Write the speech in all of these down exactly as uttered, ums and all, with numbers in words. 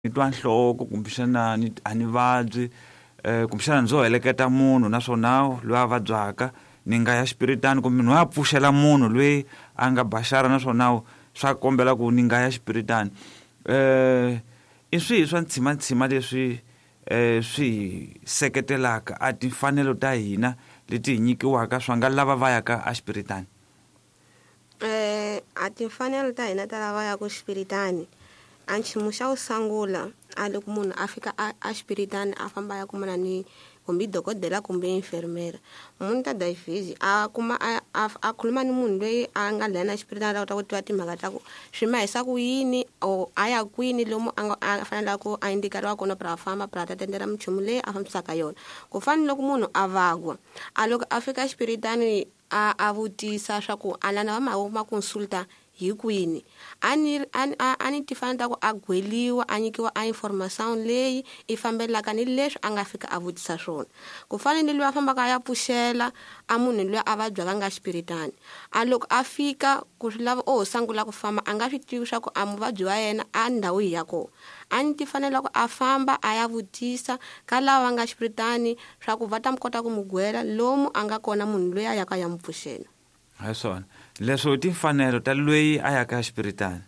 Ni twa nhloko kumbexana ni a ni vabyi um kumbexana ndzo heleketa munhu naswona loyi a vabyaka ni nga ya xipiritani kumbe ni ya pfuxela munhu loyi a nga baxara naswona swa kombela ku ni nga ya xipiritani um i swihi swa ntshimantsima leswi um swi hi seketelaka a timfanelo ta hina leti hi nyikiwaka swa nga lava va yaka a xipiritani? Eh a timfanelo ta hina ta lava yaka xipiritani, a nchumu xa ku sungula a loko munhu a fika a a xipiritani a famba a ya kumana ni kumbe dokodela kumbe enfermera, munhu ta vezes a kuma a a a khuluma ni munhu loyi a nga lana xipiritani a kota ku tiva timhaka ta ku swi mahisa ku yini or a ya kwini lomu a nga a faneleke ku a indikeriwa kona pra a famba pra a ta tendela minchumu leyi a fambisaka yona. Ku fana ni loko munhu a vabya, a loko a fika xipiritani a a vutisa swa ku a lana va ma ma consulta hi kwini, a ni a a a ni timfanelo ta ku a gweliwa a nyikiwa a information leyi i fambelaka ni leswi a nga fika a vutisa swona. Ku fana ni loyi a fambaka a ya pfuxela a munhu loyi a vabyaka nga xipiritani, a loko a fika ku swi lava o sungula ku famba a nga swi tivi swa ku a muvabyi wa yena a ndhawu yihi ya kona, a ni timfanelo ku a famba a ya vutisa ka lava va nga xipiritani swa ku va ta mi kota ku mu gwela lomu a nga kona munhu loyi a yaka a ya mu pfuxela. Hi swona leswo i timfanelo ta loyi a yaka xipiritani.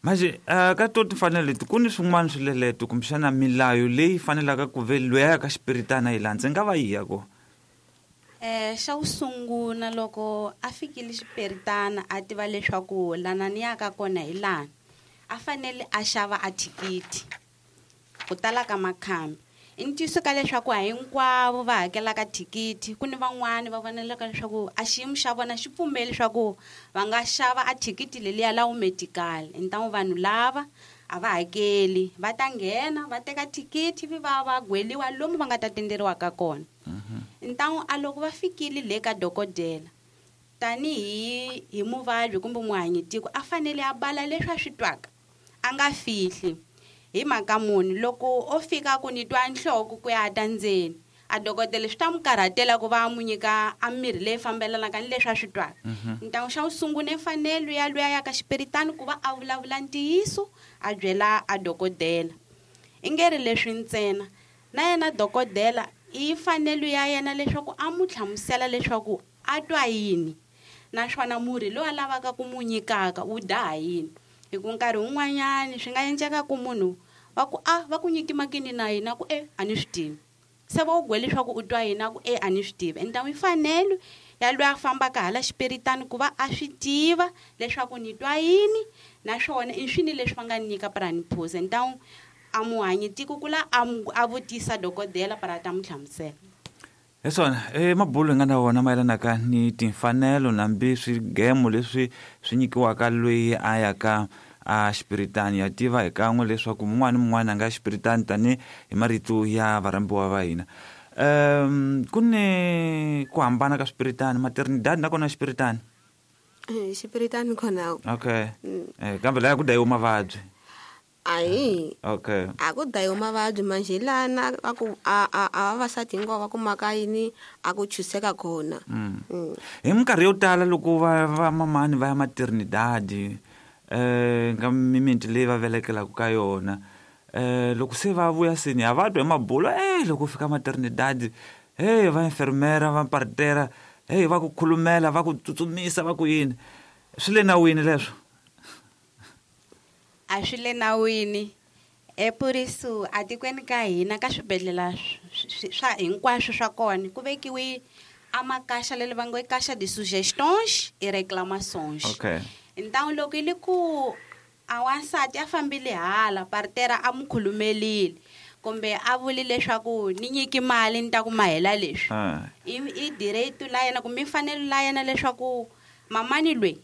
Manje uh, ka to timfanelo leti ku ni swin'wana swileleto kumbexana milayo leyi fanelaka ku ve loyi a yaka xipiritani a yi landza i nga va yihi ya kona? Eh xa ku sungula loko a fikile xipiritana a tiva leswaku lana ni yaka kona hi lana, a fanele a xava a thikithi ku tala ka makhambi. I ntiyiso ka leswaku a hinkwavo va hakelaka thikithi, ku ni van'wani va vonelaka leswaku a xiyimo xa vona xi pfumeli leswaku va nga xava a thikithi leliya la wu medical. Ntamu vanhu lava a va hakeli, va ta nghena va teka thikithi vi va va gweliwa lomu va nga ta tenderiwaka kona. Ntamu a loko va fikile le ka dokodela tanihi hi muvabyi kumbe muhanyitiko a fanele a bala leswi a swi twaka, a nga fihli. Hi mhaka muni loko o fika ku ni twa nhloko ku ya ta ndzeni, a dokodela swi ta n'wi karhatela ku va a n'wi nyika a mirhi leyi fambelanaka ni leswi a swi twaka. Ntamu xa ku sungula i mfanelo ya loyi a yaka xipiritani ku va a vulavula ntiyiso a byela a dokodela. I nge ri leswi ntsena, na yena dokodela i mfanelo ya yena leswaku a n'wi hlamusela leswaku a twa yini naswona murhi lowu a lavaka ku n'wi nyikaka wu daha yini. Hi ku nkarhi wun'wanyani swi nga endleka ku munhu va ku a va ku nyiki makini na yena ku e a ni swi tivi, se va u gwele leswaku u twa yini a ku e a ni swi tivi. Ende i mfanelo ya loyi a fambaka hala xipiritani ku va a swi tiva leswaku ni twa yini naswona i swini leswi va nga ni nyika para ni phuza. Ntamu a muhanyitiko ku la a mu a vutisa dokodela para a ta n'wi hlamusela. Hi swona e mabulo hi nga na wona mayelanaka ni timfanelo nambi swigemo leswi swi nyikiwaka loyi a yaka a xipiritani. Ya tiva hi kan'we leswaku mun'wana ni mun'wana a nga xipiritani tani hi marito ya varhambiwa va hina. Um ku ni ku hambana ka swipiritani, maternidad nakona xipiritani? Xipiritani kona. Okay. Eh kambe laya ku dayiwa mavabyi. Ayi. Okay. A ku dayiwa mavabyi manje lana a ku a a a vavasati hinkwavo va kumaka yini a ku chuseka kona. Mm. Mm. Hi minkarhi yo tala loko va va mamani va ya maternidad eh nga mimiti leyi va velekelaka ka yona, eh loko se va vuya seni a va twa hi mabulo, eh loko fika maternidad, hey va enfermera va partera, hey va ku khulumela va ku tsutsumisa va ku yini. Swi le nawini leswo? A swi le nawini. E por isso a tikweni ka hina ka swibedhlele swa hinkwaswo swa kona ku vekiwe a makaxa leli va ngo i caixa de sugestões e reclamações. Okay. Então loko i li ku a wansati a fambile hala partera a mu khulumelile kumbe a vuli leswaku ni nyiki mali ni ta ku mahela leswi, Ah. i i direito la yena kumbe mfanelo la yena leswaku mamani loyi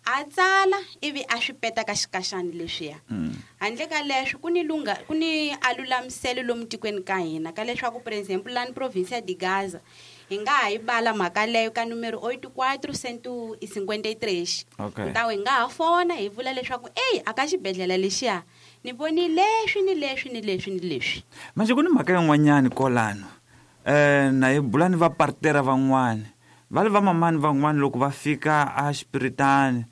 a tsala ivi a swi peta ka xikaxani leswiya. Mm. Handle ka leswo ku ni lunga ku ni a lulamiselo lomu tikweni ka hina ka leswaku por exemple lani province de Gaza hi nga ha yi bala mhaka leyo ka numero oito quatro cento e cinquenta e três. Okay. Ntawu hi nga ha fona hi vula leswaku eyi a ka xibedhlele lexiya ni voni leswi ni leswi ni leswi ni leswi. Manje ku ni mhaka yin'wanyani kwalano, eh na hi bula ni va partera van'wani va le va mamani van'wani loko va fika a xipiritani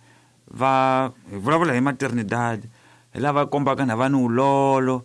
va hi vulavula hi maternidad, Hi lava kombaka na va ni wulolo,